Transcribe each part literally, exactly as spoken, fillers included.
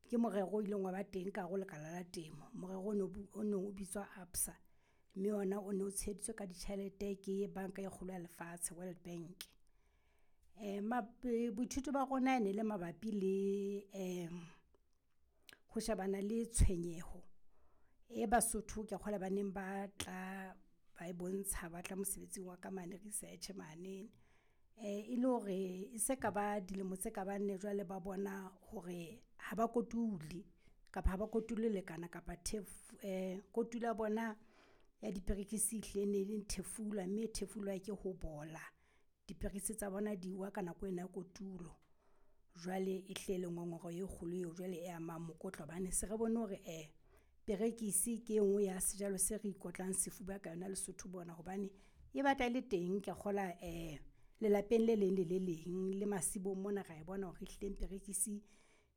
Ke morero o ileng wa ba teng ka hare ho lekala la temo. Morero o no o nong o bitswa A B S A, mme ona o no tsheheditswe ka ditjhelete ke Banka e Kgolo ya Lefatshe, World Bank. Boithuto ba rona e ne le mabapi le ho shebana le tshwenyeho e Basotho kea kgolwa ba neng ba tla ba e bontsha ba tla mosebetsing wa ka mane research mane. E le hore e se ka ba dilemo tse ka bang nne jwale ba bona hore ha ba kotule kapa ha ba kotule ho lekana kapa kotulo ya bona ya diperekisi e hlile e ne le thefula, mme e thefulwa ke ho bola. Diperekisi tsa bona di wa ka nako ena ya kotulo. Jwale e hlile e le ngongoreho e kgolo eo jwale e amang mokotla hobane se re bone hore perekisi ke e nngwe ya sejalo se re ikotlang sefuba ka yona Lesotho mona hobane e batla e le teng kea kgolwa lelapeng le leng le le leng le masimong mona ra e bona hore ehlileng perekisi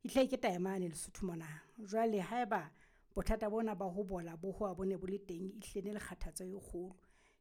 e hlile ke taemane Lesotho mona. Jwale haeba bothata bona ba ho bola bo howa bo ne bo le teng, ehlile e ne le kgathatso e kgolo.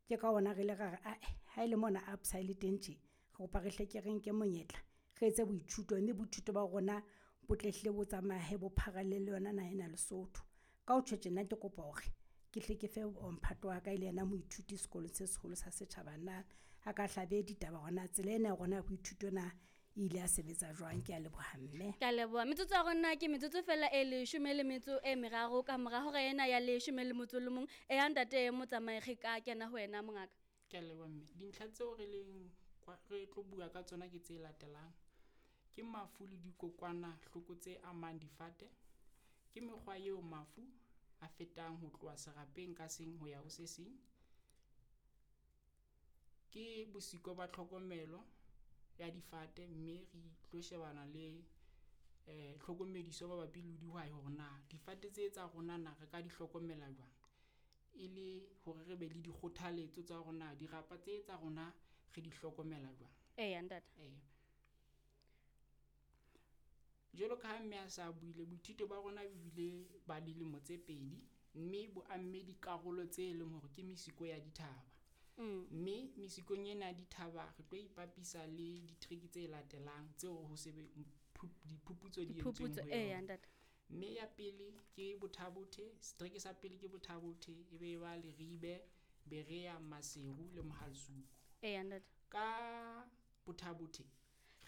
Ke ka hona re ile ra re ae, ha ele mona A B S A e le teng tje, re kopa re hle ke re nke monyetla re etse boithuto, mme boithuto ba rona bo tle hlile bo tsamaye bo pharalle le yona naha ena ya Lesotho. Ka ho tjho tjena, ke kopa hore ke hle ke fe wa mphato wa ka e le yena moithuti sekolong se seholo sa setjhaba na a ka hlabe ditaba hore na tsela ena ya rona ya boithuto na e ile ya sebetsa jwang. Kea leboha mme. Ke a leboha. Metsotso ya rona ke metsotso fela e leshome le metso e meraro ka mora hora ena ya leshome le motso le mong. E ya ntate Motsamai, re ka kena ho wena mongaka. Ke a leboha mme. Dintlha tseo re leng re tlo bua ka tsona ke tse latelang. Ke mafu le dikokwanahloko tse amang difate. Ke mekgwa eo mafu a fetang ho tloha serapeng ka seng ho ya ho se seng. Ke bosiko ba tlhokomelo ya difate, mme re tlo shebana le eh tlhokomediso mabapi le dihwai hore na difate tse tsa rona na re ka di hlokomela jwang, e le hore re be le dikgothaletso tsa hore na dirapa tse tsa rona re di hlokomela jwang. Eya ntate. Eh. Jwalo ka ha mme a sa buile, boithuto ba rona bo bile ba dilemo tse pedi, mme bo amme dikarolo tse leng hore ke mesiko ya dithaba. Mm. Mme mesikong ena ya dithaba re tlo ipapisa le ditriki tse latelang tseo ho sebe diphuputso di entsweng Diphuputso, ho eya yona. ntate. Mme ya pele ke Bothabothe, setereke sa pele ke Bothabothe, e be e ba Leribe, Berea, Maseru le Mohalasuku. Eya ntate. Ka Bothabothe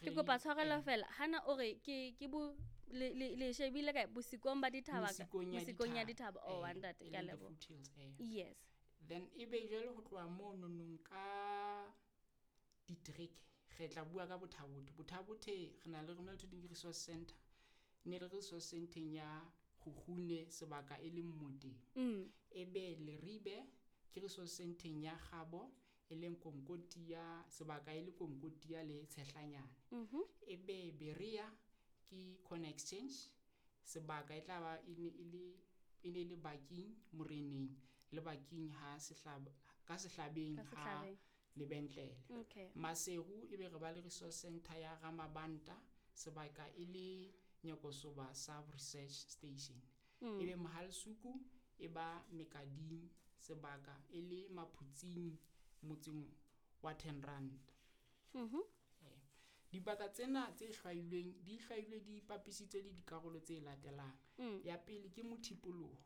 Ke kopa tshwarelo fela, hana o re ke ke bo le le le shebile kae bosikong ba dithaba ka Mesikong ya mosikong ya dithaba. dithaba. Oh Eh, ntate, e ke a leng the leboha. foothills, eh. Yes. Then ebe jwale ho tloha mono nong ka ditereke re tla bua ka Bothabothe. Bothabothe re na le re na le resource center. Ne le resource centeng ya Kgukgune sebaka e leng Moteng. Mm. Ebe Leribe ke resource centeng ya Kgabo e leng Konkotia, sebaka e le Konkotia le Tshehlanyane. Mhm. Ebe Berea ke Corner Exchange, sebaka e tla ba e ne e le e ne le Baking Moreneng le Baking ha sehlaba ka sehlabeng Ka ha sehlabeng. lebentlele. Okay. Maseru ebe re ba le resource center ya Ramabanta, sebaka e le Nyakosoba Sub Research Station. Mm. Ebe Mohalasuku e ba Mekading, sebaka e le Maphutsing motseng wa Ten Rand. Mhm. Eh. Dibaka tsena tse hlwailweng di hlwailwe di ipapisitswe le dikarolo tse latelang. Mm. Ya pele ke mothipoloho.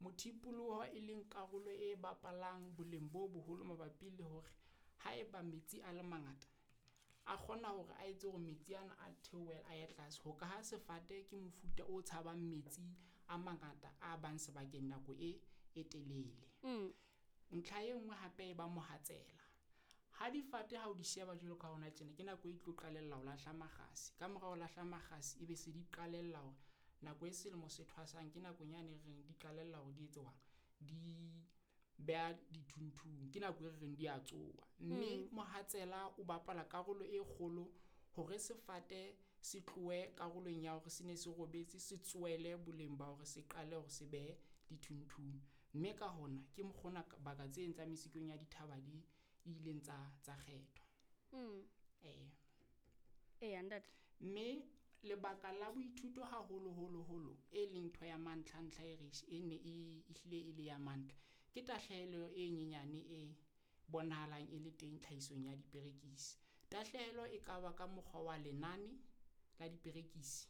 Mothipoloho e leng karolo e bapalang boleng bo boholo mabapi le hore haeba metsi a le mangata a kgona hore a etse hore metsi ana a theohele a ye tlase. Ho ka ha sefate ke mofuta o tshabang metsi a mangata a bang sebakeng nako e e telele. Mm. Ntlha e nngwe hape e ba mohatsela. Ha difate ha o di sheba jwalo ka hona tjena, ke nako e tlo qalella ho lahla makgasi. Ka mora ho lahla makgasi ebe se di qalella hore nako e selemo se thwasang ke nakong yane e reng di qalella hore di etse jwang, di beha dithunthung, ke nako e re reng di a tsoha. Mme Mm. mohatsela o bapala karolo e kgolo hore sefate se tlohe karolong ya hore se ne se robetse, se tsohele boleng ba hore se qale hore se behe dithunthung. Mme ka hona ke mokgona baka tse tsa mesikong ya dithaba di ileng tsa tsa kgethwa. Mm. Eh. Eya ntate. Mme lebaka la boithuto haholo holo holo e leng ntho ya mantlha ntlha e re e ne e ehlile e le ya mantlha ke tahlehelo e nyenyane e bonahalang e le teng tlhahisong ya diperekisi. Tahlehelo e ka ba ka mokgwa wa lenane la diperekisi